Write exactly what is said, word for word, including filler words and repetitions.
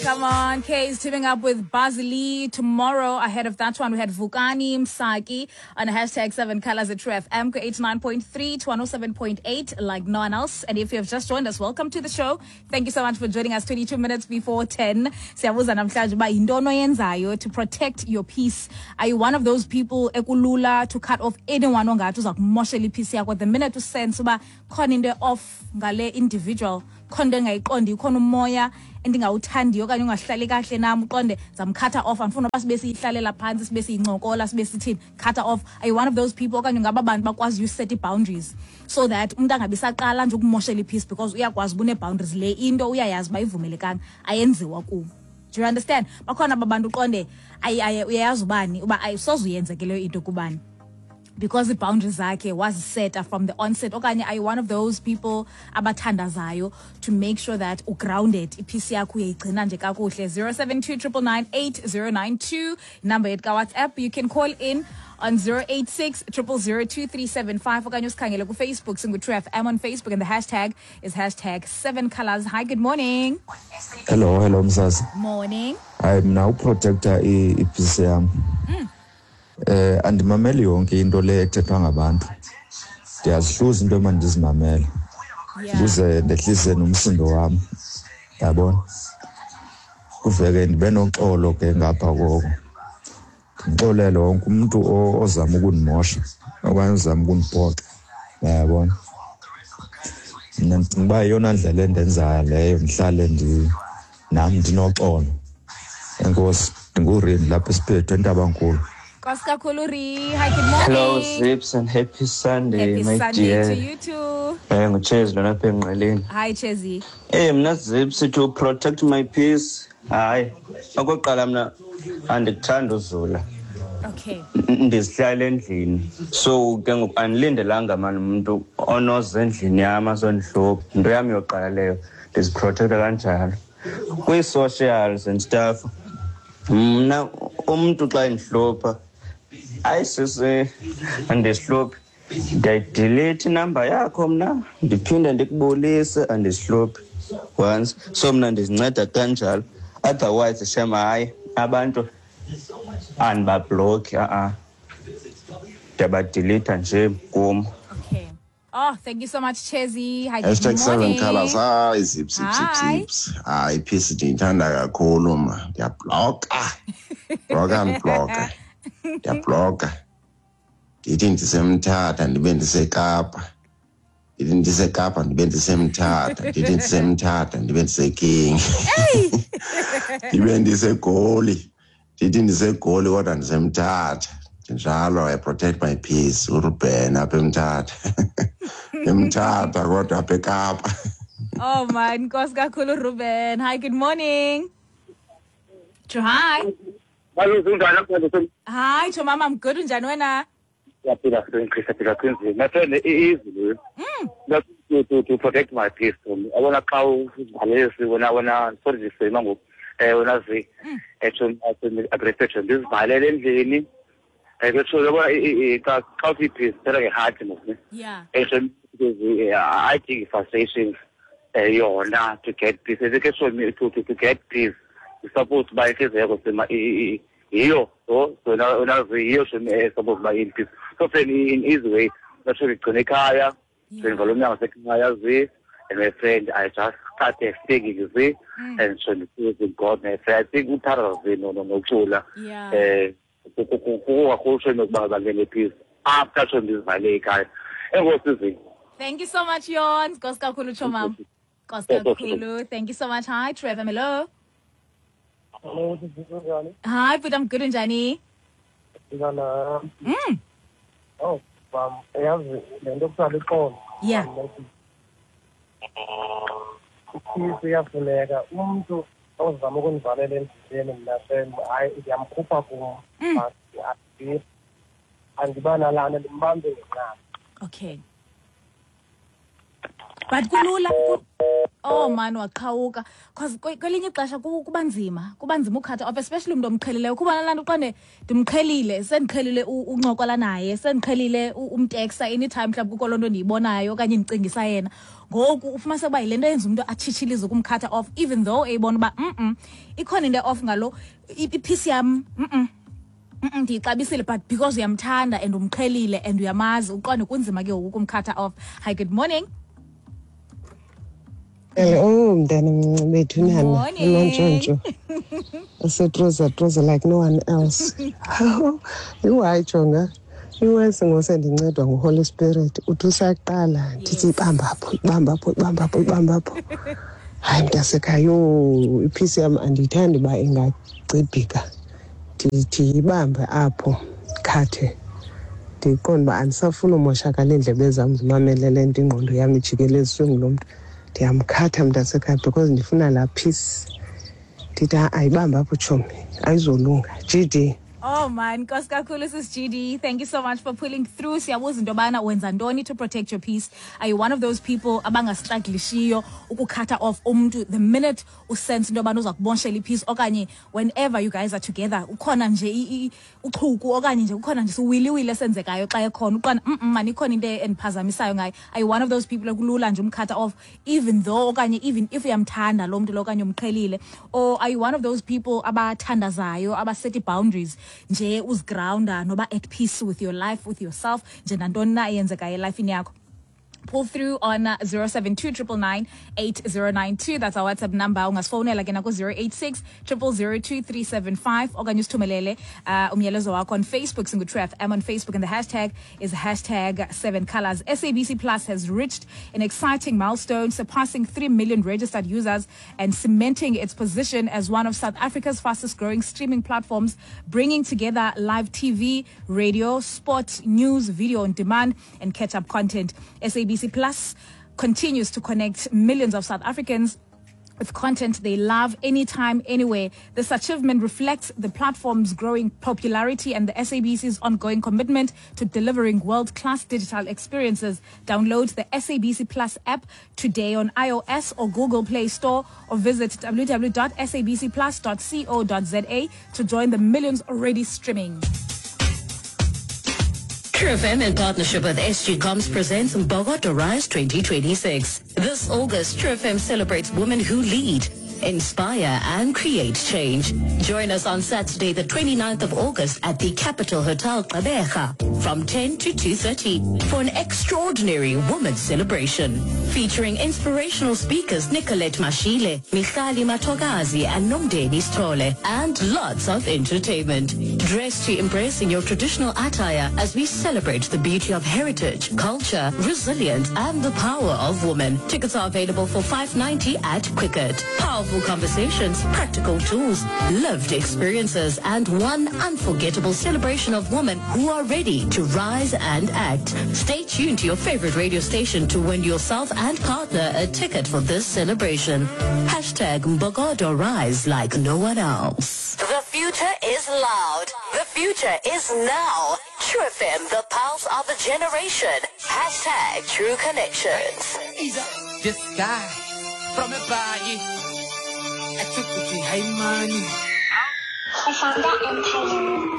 Come on, Kay is teaming up with Bazili tomorrow. Ahead of that one, we had Vukani Msaki on hashtag seven colors at True F M, eighty-nine point three to one oh seven point eight, like no one else. And if you have just joined us, welcome to the show. Thank you so much for joining us twenty-two minutes before ten. Siyabuza namhlanje uba yintoni oyenzayo to protect your peace. Are you one of those people ekulula to cut off anyone ongathi uza kumoshela ipeace yakho? The minute you sense uba khona into off ngale individual, khona into engayiqondi, khona umoya endingawuthandiyo okanye ungahlali kahle nam, uqonde zamkhatha off, andifuna uba sibe siyihlalela phantsi, sibe siyincokola, sibe sithini, cut off. Are you one of those people okanye ungaba bantu bakwaziyo uset ii-boundaries so that umntu angabi saqala nje ukumoshela ipeace, because uyakwazi uba une-boundaries, le into uyayazi uba ivumelekanga, ayenziwa kubo. Do you understand? Bakhona aba bantu uqonde uyayazi ubani uba ayisoze uyenzeke leyo into kubani, because the boundaries zakhe was set from the onset. Okanye are you one of those people abathandazayo to make sure that ugrounded, ipeace yakho uyayigcina nje kakuhle? Zero seven two triple nine eight zero nine two, number yethu ka WhatsApp. You can call in on zero eight six triple zero two three seven five okanye usikhangele ku Facebook, singu True F M on Facebook, and the hashtag is hashtag seven colors. Hi, good morning. Hello, hello msasa. Morning. Hayi, mna uprotector ipeace yam. Mm. Eh andimameli yonke into le ethethwa ngabantu. Ndiyazihluza into emandizimamele. Ukuze ndehlise nomsindo wami. Yabona? Kuveke ndibe noxolo ke ngapha koko. Ndixolele wonke umuntu ozama ukundimosha okanye ozama ukundiphoxa. Yabona? Mina ndicinga uba yeyona ndlela endenzayo leyo, ndihlale ndi nam ndinoxolo. Enkosi, ndinguRindi lapha esiphethu eNtabankulu. Nkosi kakhulu, Ri. Hi, good morning. Hello, Zips, and happy Sunday, Happy my Sunday dear. to you too. Eh, nguChezi lona apha engqeleni. Hi, Chezi. Eh, mna Zips, to protect my peace. Hayi, okokuqala mna andikuthanda uzula. Okay. Ndizihlala endlini. So ke ngoku andilindelanga mani umuntu onoza endlini yam azondihlupha. Into yam yokuqala leyo, ndiziprotecta kanjalo. Kwii-socials and stuff, mna umntu xa endihlupha, hayi sisi, andizihluphi. Ndiyayidelete inamba yakho mna, ndiphinde ndikubulise, andizihluphi once. So mna ndizinceda kanjalo. Otherwise, shem, hayi, abantu andibabhlokhi, a-a. Ndiyabadelete nje kum. Okay. Oh, thank you so much, Chezi. Hi, good Hashtag seven morning. colors. Hi, zip, zip, zip, Hi. zips. Hayi, peace ndiyithanda kakhulu ma. Ndiyabhloka. Bloka ndibhloka. Ndiyabhloka. Ndithi ndisemthatha ndibe ndiseKapa. Ndithi ndiseKapa ndibe ndisemthatha. Ndithi ndisemthatha ndibe ndiseKing. Ndibe ndiseGoli. Ndithi ndiseGoli kodwa ndisemthatha. Njalo I protect my peace. uRuben apha eMthatha. Emthatha kodwa apha eKapa. Oh man, nkosi kakhulu Ruben. Hi, good morning. Hi. Hello, kunjani? Hi, Chomama, I'm good. Unjani wena? Siyaphila, siyaphila kunzima. My friend, easy. Mm. To, to, to protect my peace. Yabona xa uzivalelisi wena wena sorry ndisema ngoku. Eh wena zi ethu agression ndizivalele endlini. Eh ke yabona xa xa uthi peace phela ngeheart mos. Yeah. Ethu I think frustrations yona to get peace. Ke so to to get peace. You supposed by inhliziyo yakho sema yiyo so so now yiyo supposed by in peace. So friend, in easy way, nasho ngigcine ekhaya, ngivala umnyango sekhaya zi, and my friend, I just started thinking zi, and so with God, my friend, I think uthanda zi no no nokucula. Eh kukakhulu nokuba bangene peace after so ndizivale ekhaya. Enkosi zi. Thank you so much, Yon. Nkosi kakhulu Chomam. Nkosi kakhulu. Thank you so much. Hi, Trevor. Hello. Hello, this is Njani. Hi, but I'm good, Njani. Mm. Oh, um, yazi le nto kuthiwa lixolo. Yeah. Ipeace iyafuneka. Umntu ozama ukundivalela endleleni mna shem, hayi ndiyamkhupha kum. Andiba nalana ndimbambe ngenqaba. Okay. But kulula oh man waqhawuka because kwelinye ixesha kuba nzima kuba nzima ukhatha off, especially umuntu omqhelileyo. Kuba nalaa nto uqonde ndimqhelile, sendiqhelile uncokola naye, sendiqhelile umteksa anytime mhlawumbi kukho loo nto ndiyibonayo okanye ndicingisa yena. Ngoku ufumanise uba yile nto yenza umntu atshitshilize ukumkhatha off, even though eyibona uba mm ikhona into off ngalo iphisi yam, mm ndiyixabisile, but because uyamthanda and umqhelile and uyamazi, uqonde kunzima ke ngoku ukumkhatha off. Hi, good morning. Hello, mntana mncinci bethu nana uNontshontsho asetroza troza like no one else. Yhu, hayi jonga, iwesi ngosendincedwa nguHoly Spirit. Uthi usaqala ndithi ibamba apho, ibamba apho, ibamba apho, ibamba apho. Hayi mntasekhaya, yho, iphisi yam andiyithandi uba ingacibhika. Ndithi ibambe apho khathe, ndiqonde uba andisafuni umoshakala iindlebe zam zimamele le nto, ingqondo yam ijikeleziswe ngulo mntu. Ndiyamkhatha mntasekhaya because ndifuna laa peace. Ndithi ayibambe apho tshomi, ayizolunga. G D. Oh man, nkosi kakhulu sis G D. Thank you so much for pulling through. Siyabuza into yobana wenza ntoni to protect your peace. Are you one of those people abangastrugglishiyo ukukhatha off umntu the minute usense into yobana uza kubonshela ipeace, okanye whenever you guys are together ukhona nje uchuku okanye nje ukhona nje siwiliwili esenzekayo xa ekhona uqona mm man ikhona into endiphazamisayo ngaye. Are you one of those people ekulula nje umkhatha off even though okanye even if uyamthanda lo mntu lo okanye umqhelile? Or are you one of those people abathandazayo, abaset boundaries nje uzigrounda noba at peace with your life, with yourself, nje nantoni na eyenzekayo elifini yakho? Pull through on zero seven two triple nine eight zero nine two. That's our WhatsApp number. Ungasifowunela ke nako zero eight six triple zero two three seven five okanye usithumelele umyalezo wakho on Facebook. Singu True F M on Facebook, and the hashtag is hashtag seven colors. S A B C Plus has reached an exciting milestone, surpassing three million registered users and cementing its position as one of South Africa's fastest growing streaming platforms, bringing together live T V, radio, sport, news, video on demand, and catch-up content. S A B C Plus continues to connect millions of South Africans with content they love anytime, anywhere. This achievement reflects the platform's growing popularity and the S A B C's ongoing commitment to delivering world-class digital experiences. Download the S A B C Plus app today on iOS or Google Play Store, or visit w w w dot s a b c plus dot co dot z a to join the millions already streaming. True F M in partnership with S G Comms presents Mbokodo Rise twenty twenty-six. This August, True F M celebrates women who lead, inspire and create change. Join us on Saturday the twenty-ninth of August at the Capital Hotel Gqeberha from ten to two thirty for an extraordinary women's celebration featuring inspirational speakers Nicolette Mashile, Michali Matogazi and Nomdeni Stole, and lots of entertainment. Dress to impress in your traditional attire as we celebrate the beauty of heritage, culture, resilience and the power of women. Tickets are available for five ninety at Quicket. Powerful conversations, practical tools, lived experiences, and one unforgettable celebration of women who are ready to rise and act. Stay tuned to your favorite radio station to win yourself and partner a ticket for this celebration. Hashtag Mbokodo Rise like no one else. The future is loud. The future is now. True F M, the pulse of a generation. Hashtag True Connections. This guy from a body. I took the high money. I found that empire.